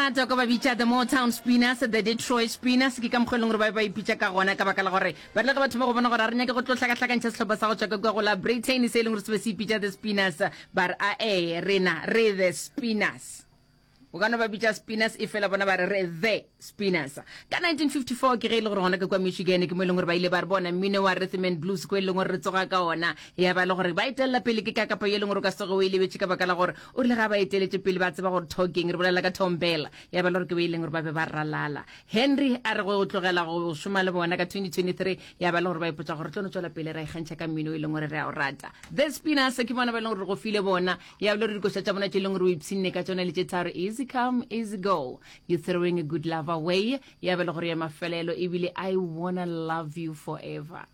rata ka ba bitša the Motown Spinners, the Detroit Spinners, ke ka mokgwa e leng gore ba be ba ipitša ka gona ka baka la gore ba rile ge batho ba go bona gore a re nyake go tlo hlakahlakantšha sehlopha sa go tšwa ka kua go la Britain se e leng gore se be se ipitša the Spinners, ba re ae rena re the Spinners. O ka no ba bitša Spinners efela bona ba re re the Spinners. Ka 1954 ke ge e le gore gona ka kua Michigan ke mo e leng gore ba ile ba re bona mmino wa rhythm and blues ko e leng gore re tsoga ka ona ya ba e le gore ba etelela pele ke kakapa ye e leng gore o ka se tsoge o e lebetše ka baka la gore o rile ga ba eteletše pele ba tseba gore talking re bolela ka Tom Bell ya ba e le gore ke be e leng gore ba be ba ralala. Henry a re go tlogela go šoma le bona ka 2023 ya ba e le gore ba ipotša gore tlo no tšwela pele ra ikgantšha ka mmino e leng gore re a o rata. The Spinners ke bona ba e leng gore re go file bona Ya bile re dikoša tša bona tše leng gore o ipshinne ka tšona le tše tharo, Easy Come, Easy Go, You Throwing a Good Love Away, ya be le gore ya mafelelo ebile I Wanna Love You Forever.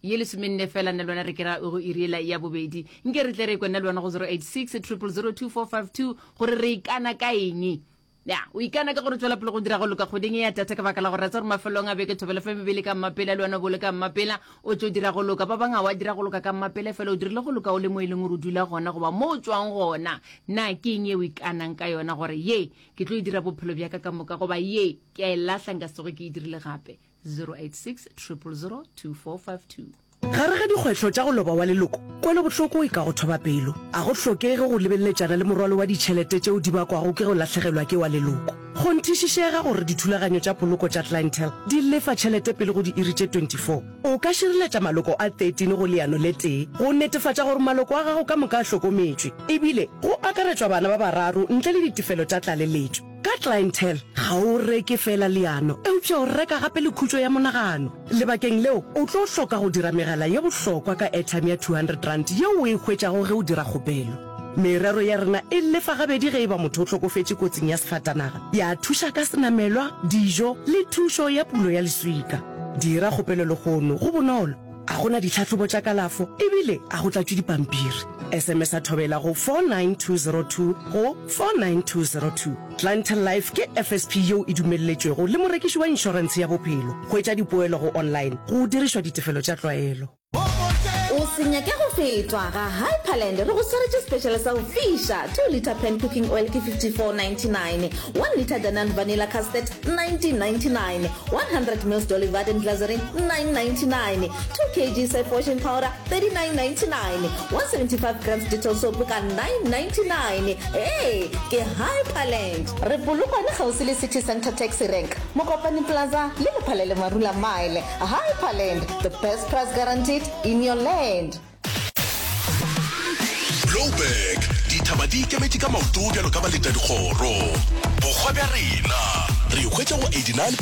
Ye lesomenne fela nna le wena re kera go iri yela ya bobedi. Nke re tle re kwe nna le wena go 086 000 2452 gore re ikana ka eng. Ya, o ikana ka gore tšwela pele go dira go loka kgweding e ya data ka baka la gore ra tseba gore mafelong a beke Thobela FM e be le ka mmapela le wena o bo le ka mmapela o tšo dira go loka. Ba bang ga wa dira go loka ka mmapela fela o dirile go loka o le mo e leng gore o dula gona goba mo o tšwang gona. Na ke eng ye o ikanang ka yona gore ye ke tlo e dira bophelo bja ka ka moka goba ye ke a e lahla nka se tsoge ke e dirile gape? 086 000 2452. Gare ga dikgwetlho tša go loba wa leloko, kwelobohloko e ka go thoba pelo. A go hlokege go lebeletšana le morwalo wa ditšhelete tšeo di bakwago ke go lahlegelwa ke wa leloko. Kgonthišišega gore dithulaganyo tša poloko tša Clientele di lefa tšhelete pele go diiri tše 24. O ka šireletša maloko a 13 go leano le tee go netefatša gore maloko a gago ka moka a hlokometšwe, ebile go akaretšwa bana ba bararo ntle le ditefelo tša tlaleletšo. Ka Clientele, ga o reke feela leano, eupša o reka gape le khutšo ya monagano. Lebakeng leo, o tlo hloka go dira megala ye bohlokwa ka airtime ya R200 yeo o e hwetšago ge o dira kgopelo. Merero ya rena e lefa gabedi ge e ba motho o hlokofetše kotsing ya sefatanaga, ya thuša ka senamelwa, dijo le thušo ya pulo ya leswika. Dira kgopelo lehono, go bonolo, ga go na ditlhahlobo tša kalafo ebile ga go tlatšwe dipampiri. SMS-a Thobela go 49202 go 49202. Clientele Life ke FSP yeo e dumelletšwego le morekiši wa inšorentshe ya bophelo. Hwetša dipoelo go online go dirišwa ditefelo tša tlwaelo. O se nyake go fetwa, ga Hyperland re go swaretše special sa go fiša, 2 litre pan cooking oil ke 54.99, 1 litre Danone vanilla custard 19.99, 100 mils Dolly Varden glycerin 9.99, 2 kg Surf washing powder 39.99, 175 grams Dettol soap ka 9.99. Ee, ke Hyperland. Re Polokwane kgauswi le City Centre Taxi Rank, Mokopane Plaza le Lephalele Marula Mile. Hyperland, the best price guaranteed in your land. Blouberg, dithaba di ikemetše ka maoto bjalo ka baletadikgoro. Bohwa bja rena, re hwetša go 89.